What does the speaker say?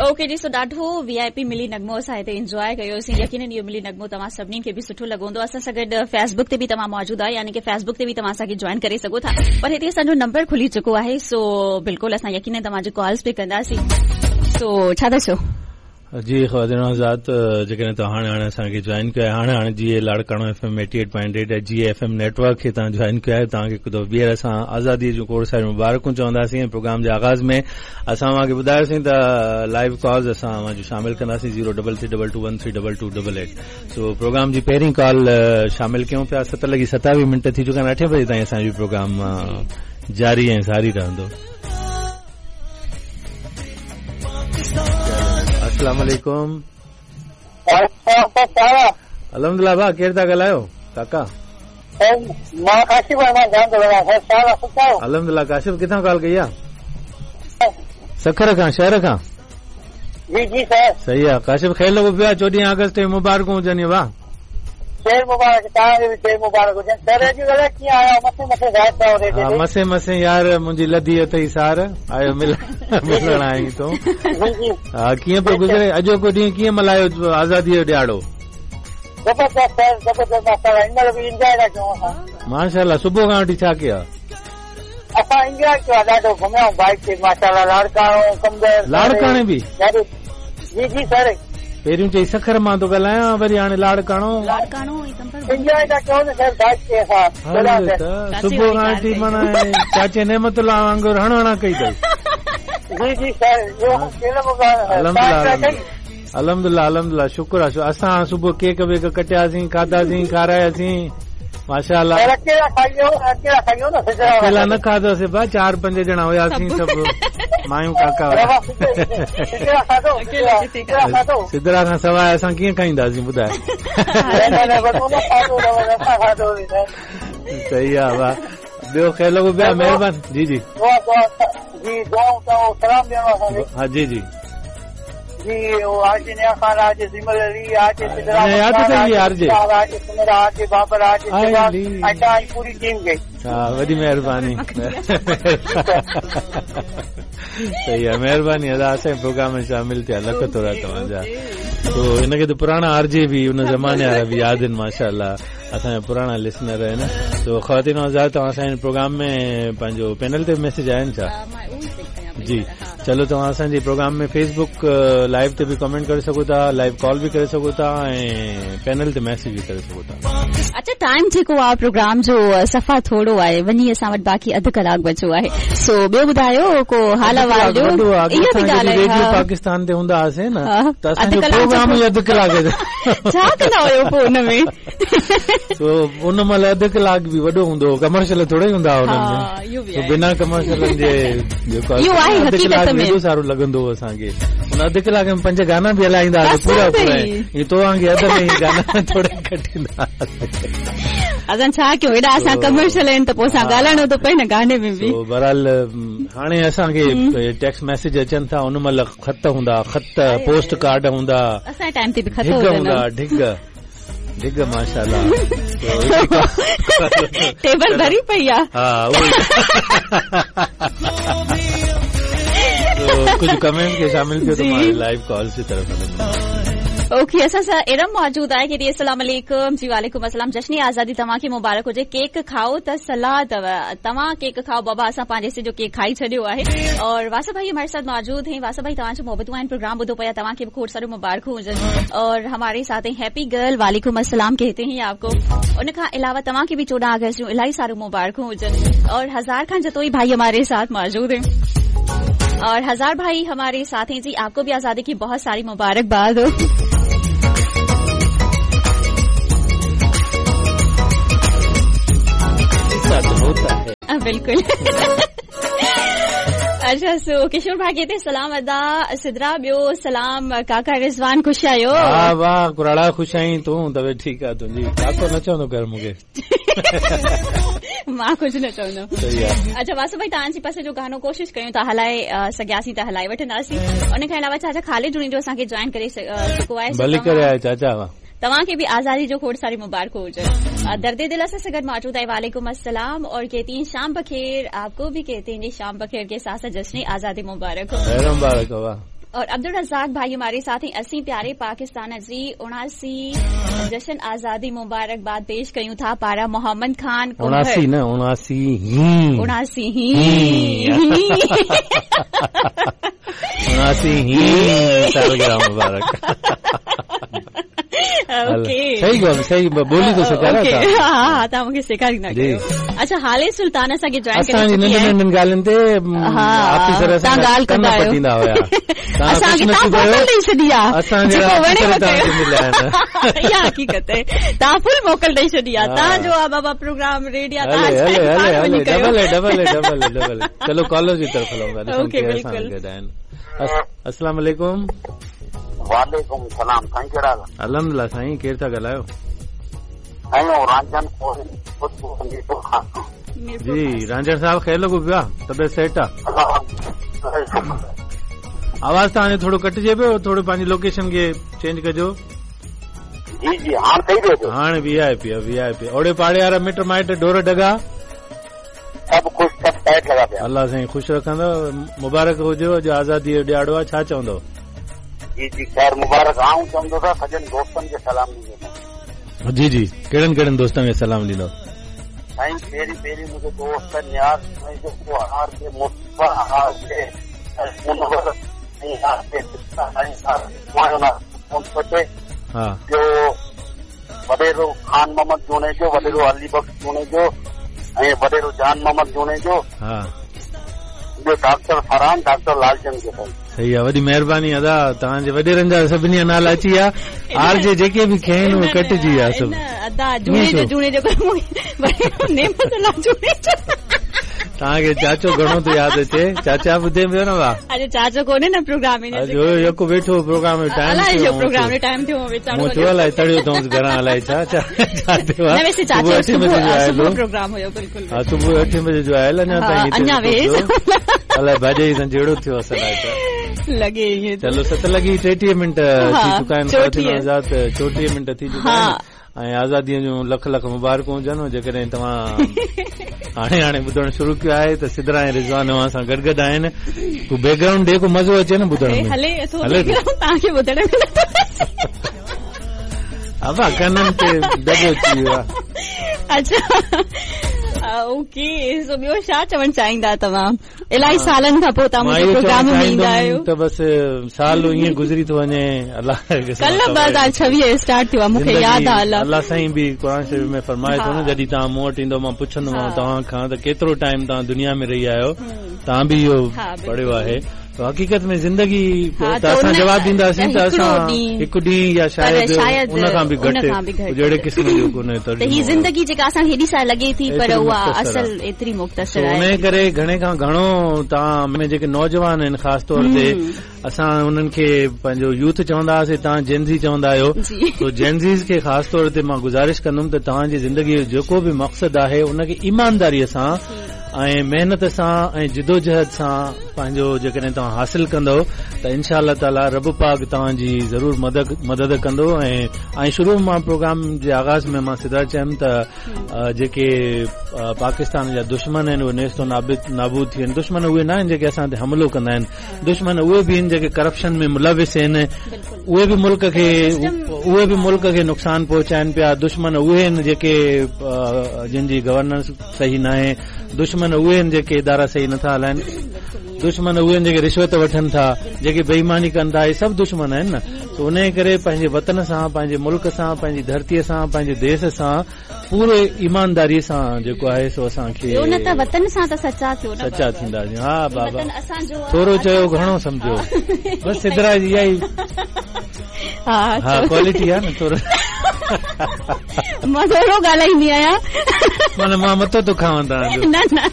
Okay جي سو ڏاڍو V آء P ملي نغمو اسان هتي انجواء ڪيوسين يقينن اهو ملي نغمو توهان سڀني کي به سٺو لڳو هوندو اسان سان گڏ فيس بڪ تي به توهان موجود آهيو يعني ڪي فيس بڪ تي به توهان اسان کي جوائن ڪري سگهو ٿا پر هتي اسان جو نمبر کلي چڪو آهي سو بلڪل اسان يقينن توهان جي ڪالز به ڪنداسين سو ڇا ٿا چئو جي خواتين و حضرات جيڪڏهن توهان هاڻي هاڻي اسان کي جوائن ڪيو آهي هاڻي هاڻي جي لاڙڪاڻو ايف ايم 88.8 ۽ جي ايف ايم نيٽ ورڪ کي توهان جوائن ڪيو آهي توهان کي هڪ دفعو ٻيهر اسان آزادي جون کوڙ ساريون مبارڪون چونداسين ۽ پروگرام جي آغاز ۾ اسان اوهان کي ٻڌايوسين ته لائيو ڪالز اسان اوهان جون شامل ڪنداسين zero double three double two one three double two double eight so programme جي پهرين ڪال شامل ڪيون پيا ست لڳي ستاويهه منٽ ٿي چڪا آهن اٺين بجي تائين اسان جو پروگرام جاري ۽ ساري رهندو السلام عليڪم الحمدلله ڀاء ڪير ٿا ڳالهايو ڪاڪا مان ڪاشف آهيان مان ٿو ڳالهايان الحمدلله ڪاشف ڪٿان ڪال ڪئي آ سکر کان شهر کان جي جي سر صحيح آ ڪاشف خير لڳو پيو آ 14 آگسٽ جون مبارڪون هجن ڀاء خير مبارڪ توهان کي به خير مبارڪ هجن سر اڄ الائي ڪيئن آيا مٿي مٿي غائب ٿيا آهيو ريڊيو تي مسي مسي يار منهنجي لڌي اٿئي سار آيو ملڻ آئين تون جي جي ها ڪيئن پيو گذري اڄوڪو ڏينهن ڪيئن ملهايو آزادي جو ڏهاڙو زبردست سر زبردست ماشاءالله هن مهل به انجواء ٿا ڪيون اسان ماشاءالله صبح کان وٺي ڇا ڪيو اسان انجواء ڪيو آ ڏاڍو گهميا آهيون بائيڪ تي ماشاءالله لاڙڪاڻو قمبر لاڙڪاڻي به جي جي سر پهريون چئي سکر مان ٿو ڳالهايان وري هاڻي لاڙڪاڻو لاڙڪاڻو ۽ قمبر انجواء ٿا ڪيون نه سر بائيڪ تي اسان صبح کان وٺي معنيٰ چاچي نعمت الله وانگر هڻ هڻان ڪئي اٿئي جي جي سر الحمدلله الحمدلله الحمدلله شڪر آ اسان صبح ڪيڪ ويڪ ڪٽياسين کاڌاسين کاراياسين ماشاءالله اڪيلا کائي اڪيلا کائي نه اڪيلا نه کاڌوسين ڀاء چار پنج ڄڻا هياسين سڀ مايون ڪاڪا سدرا کان سواء اسان ڪيئن کائينداسين ٻڌاء صحيح آ ڀاء ٻيو خير لڳو پيو آ مهربان جي جي جي سلام ڏيڻو ها جي جي جي R J Niaz Khan R J Zimal Ali R J Sidra ياد اٿئي آر جي آر جي سميرا آر جي بابر آر جي شباب ۽ توهان جي پوري ٽيم کي ها وڏي مهرباني صحيح آ مهرباني ادا اسان جي پروگرام ۾ شامل ٿيا لک ٿورا توهان جا تو هن کي ته پراڻا آر جي به ان زماني وارا به ياد آهن ماشاءالله اسان جا پراڻا لسنر آهن تو خواتين حضرات توهان اسان جي پروگرام ۾ پنهنجو پينل تي ميسيج آيا آهن ڇا جي چلو توهان اسان جي پروگرام ۾ فيس بڪ لائيو تي به ڪمينٽ ڪري سگهو ٿا لائيو ڪال به ڪري سگهو ٿا ۽ پينل تي ميسيج به ڪري سگهو ٿا. اڇا ٽائيم جيڪو آ پروگرام جو صفا ٿورو آهي وڃي اسان وٽ باقي اڌ ڪلاڪ بچو آهي سو ٻيو ٻڌايو ڪو حال احوال ڏيو اها به ڳالهه آهي ريڊيو پاڪستان تي هوندا هئاسين نه ته اسان جو پروگرام ئي اڌ ڪلاڪ جو ڇا ڪندا هيو پوء ان ۾ سو ان مهل اڌ ڪلاڪ به وڏو هوندو هو ڪمرشل ٿوري هوندا هئا انهن ۾ سو بنا ڪمرشلن جي جيڪو اهو آهي حقيقت ۾ ايڏو سارو لڳندو هو اسان کي ان اڌ ڪلاڪ ۾ پنج گانا به هلائيندا هئا پورا پورا ائين تو وانگي اڌ ۾ ئي گانا ٿوري ڪٽيندا اسان ڇا ڪيون ايڏا اسان ڪمرشل آهن ته پوء اسان ڳالهائڻو ٿو پئي نه گاني ۾ به سو بهرحال هاڻي اسان کي ٽيڪسٽ ميسيج اچن ٿا ان مهل خط هوندا خط پوسٽ ڪارڊ هوندا اسان جي ٽائيم تي به خط هوندا ڍڳ ڍڳ ماشاءالله ٽيبل ڀري پئي آ ها ڪجهه ڪمينٽ کي شامل ڪيو ته مان لائيو ڪالز جي طرف هلندم اوڪي اسان سان ارم موجود آهي ڪي السلام عليڪم جي وعليڪم السلام جشن آزادي توهان کي مبارڪ هجي ڪيڪ کائو ته صلاح اٿو توهان ڪيڪ کائو بابا اسان پنهنجي حصي جو ڪيڪ کائي ڇڏيو آهي اور واسو ڀائي هماري ساٿ موجود هين واسو ڀائي توهان جو محبتون آهن پروگرام ٻڌو پيا توهان کي به کوڙ ساريون مبارڪون هجن اور هماري ساٿ هين هيپي گرل وعليڪم السلام ڪهتي هين آپ ڪو ان کان علاوه توهان کي به 14 آگسٽ جون الاهي ساريون مبارڪون هجن اور هزار خان جتوئي ڀائي هماري ساٿ موجود هين اور هزار ڀائي هماري ساٿ هين جي آپ ڪو به آزادي ڪي بهت ساري مبارڪباد هو. ايسا تو هوتا هي. بلڪل اڇا سو ڪشور ڀاء ڪهتي سلام ادا سدرا ٻيو سلام ڪاڪا رضوان خوش آهيو ها واهه ڪراڙا خوش آهين تون طبيعت ٺيڪ آ تنهنجي ڪاڪو نه چوندو ڪر مونکي مان ڪجهه نه چوندم صحيح آ اڇا واسو ڀائي توهان جي پسند جو گانو ڪوشش ڪيون ٿا هلائي سگهياسين ته هلائي وٺنداسين ان کان علاوه چاچا خالد جوڻيجو اسان کي جوائن ڪري چڪو آهي ڀلي ڪري آيو چاچا واهه توهان کي به آزادي جو کوڙ ساري مبارڪون هجن درد دل اسان سان گڏ موجود آهي وعليڪم السلام اور ڪهتي هين شام بخير آپ ڪو به ڪهتي هين جي شام بخير ڪي ساٿ ساٿ جشن آزادي مبارڪ هو خير مبارڪ هو. और अब्दुल रज़ाक भाई हमारे साथ हैं। असीं प्यारे पाकिस्तान जी 79 जश्न आज़ादी मुबारकबाद पेश कयूं था। पारा मोहम्मद खान 79 न 79 ही 79 ही 79 ही सालगिरह मुबारक। ओके सही ॻाल्हि, सही ॿोली तो सेखारिया था। हा हा, तव्हां मूंखे सेखारींदा कयो। अच्छा, हाले सुल्तान असांखे जॉइन करे असांजी चुकी नंढनि आहे। नंढनि ॻाल्हियुनि ते हा, ऑफिसर तव्हां ॻाल्हि कन कंदा आहियो। पटींदा हुया। तव्हां असांखे कुझु तव्हां नथी मोकल कयो, ॾेई छॾी आहे, असां जहिड़ा जेको वणे ऑफिसर उहो तव्हांखे कयो। मिलिया आहिनि। इहा हक़ीक़त आहे, तव्हां फुल मोकल ॾेई छॾी आहे। हा। तव्हांजो आहे बाबा प्रोग्राम रेडी आहे, तव्हां हले हले चाहे हले पाण हले वञी कयो। डबल आहे, डबल आहे, डबल आहे, डबल आहे। चलो कॉलर जी तरफ़ हलूं था, ॾिसूं ओके, केरु असां बिल्कुलु। गॾु आहिनि। अस्सलाम वालेकुम। वालेकुम सलाम। साईं कहिड़ा हाल? अल्हम्दुलिल्लाह साईं, केरु था ॻाल्हायो? साईं रांझन जी रांझण साहिब, ख़ैर लॻो पियो आहे? तबियत सेट आहे? आवाज़ तव्हांजो थोरो कटिजे पियो, थोरो पंहिंजी लोकेशन खे चेंज कजो। जी जी, हाणे सही पियो अचे। हाणे वीआईपी आहे, वीआईपी। ओड़े पाड़े वारा मिट माइट ढोर ढगा सभु ख़ुशि, सभु टाइट लॻा पिया। अलाह साईं ख़ुशि रखंदो। मुबारक हुजे, अॼु आज़ादीअ जो ॾियाड़ो आहे, छा चवंदो? जी जी, ख़ैर मुबारक। आऊं चवंदो त सॼनि दोस्तनि खे सलाम ॾींदो। जी जी, कहिड़नि कहिड़नि दोस्तनि खे सलाम ॾींदो? साईं पहिरीं पहिरीं मुंहिंजो दोस्त नियाज़ जेको आर के मुस्तफ़ा, आर के मुनवर ऐं आर के साईं, हा। ॿियो वॾेरो खान मोहम्मद जुणेजो, वॾेरो अली बख़्श जुणेजो ऐं वॾेरो जान मोहम्मद जुणेजो, हा, ॿियो डॉक्टर फरहान, डॉक्टर लालचंद जो। साईं सही आहे, वॾी महिरबानी अदा। तव्हांजे वॾेरनि जा सभिनी जा नाला अची विया, आर जे जेके बि खयनि उहे कटिजी विया सभु। अदा जुणेजो, जुणेजो नेमत अलाह जुणेजो। तव्हांखे चाचो घणो थो यादि अचे। चाचा ॿुधे पियो न वाह? अॼु चाचो कोन्हे न प्रोग्राम में। अॼु यको वेठो प्रोग्राम जो टाइम अलाए थियो जो प्रोग्राम जो टाइम थियो, वीचारो मूं चयो अलाए तड़ियो अथऊंसि घरां, अलाए छा छा छा थियो आहे। न वैसे चाचो सुबुह अठे बजे जो आयल सुबुह हो। प्रोग्राम हुयो, बिल्कुलु। हा, सुबुह 8 बजे जो आयल, अञा हा, ताईं हिते अञा वेठो वेस। पियो। अलाए भाॼई सां जहिड़ो थियो असल आहे त। लॻे ईअं। चलो 7 लॻी 33 मिंट थी चुका आहिनि। 34। आज़ाद 34 मिंट थी चुका आहिनि ऐं आज़ादीअ जूं लख लख मुबारकूं हुजनि। जेकॾहिं तव्हां हाणे हाणे ॿुधणु शुरू कयो आहे त सिदरा ऐं रिज़वान अव्हां सां गॾु गॾु आहिनि। पोइ बैकग्राउंड ॾे, को मज़ो अचे न ॿुधण में। हले थो हले थो। बैकग्राउंड तव्हांखे ॿुधण में नथो अचे। अबा कननि ते दॿो अची वियो आहे। अच्छा, ओके, सो ॿियो छा चवणु चाहींदा तव्हां? इलाही सालनि खां पोइ तव्हां मां मुंहिंजे इहो चवणु प्रोग्राम में ईंदा चाहींदुमि आहियो। त बसि साल ईअं गुज़री थो वञे। अलाह कल्ह 2026 स्टार्ट थियो आहे, मूंखे यादि आहे। अलाह अलाह साईं बि क़ुरान शरीफ़ में फरमाए थो न, जॾहिं तव्हां मूं वटि ईंदो मां पुछंदोमांव तव्हां खां त केतिरो टाइम तव्हां दुनिया में रही आहियो, तव्हां बि इहो पढ़ियो आहे। त हक़ीक़त में ज़िंदगी त असां जवाबु ॾींदासीं त असां हिकु ॾींहुं या शायदि उन खां बि घटि जहिड़े क़िस्म जो कोन्हे त हीअ ज़िंदगी जेका असांखे हेॾी साल लॻे थी, पर उहा असल एतिरी मुख़्तसिर आहे। उन करे घणे खां घणो तव्हां में जेके नौजवान आहिनि, ख़ासि तौर ते असां उन्हनि खे पंहिंजो यूथ चवंदा हुआसीं, तव्हां जेनज़ी चवंदा आहियो, त जेनज़ीज़ खे ख़ासि तौर ते मां गुज़ारिश कंदुमि त तव्हांजी ज़िंदगीअ जो जेको बि मक़सदु आहे उनखे ईमानदारीअ सां ऐं महिनत सां ऐं जिदोजहद सां पंहिंजो जेकॾहिं तव्हां हासिल कंदव त इनशा अलाह ताला रब पाक तव्हांजी ज़रूर मदद कंदो। ऐं शुरू मां प्रोग्राम जे आग़ाज़ में मां सिधा चयमि त जेके पाकिस्तान जा दुश्मन आहिनि उहे नेस्तो नाबूद थी विया आहिनि। दुश्मन उहे न आहिनि जेके असां ते हमिलो कंदा आहिनि, दुश्मन उहे बि आहिनि जेके करप्शन में मुलविस आहिनि, उहे बि मुल्क खे नुक़सानु पहुचाइनि पिया। दुश्मन उहे आहिनि जेके जिन जी गवर्नेंस सही न आहे, दुश्मन उहे आहिनि जेके इदारा सही नथा हलाइनि, दुश्मन उहे आहिनि जेके रिश्वत वठनि था, जेके बेईमानी कनि था, इहे सभु दुश्मन आहिनि न। त उन करे पंहिंजे वतन सां, पंहिंजे मुल्क सां, पंहिंजी धरतीअ सां, पंहिंजे देश सां पूरे ईमानदारीअ सां जेको आहे सो असांखे न त वतन सां त सचा थियो न, सचा थींदासीं। हा बाबा, थोरो चयो घणो सम्झो, बसि सिदरा जी इहा ई हा क्वालिटी आहे न। थोरो मां थोरो ॻाल्हाईंदी आहियां, माना मां मथो थो खावां तव्हांजो। न न।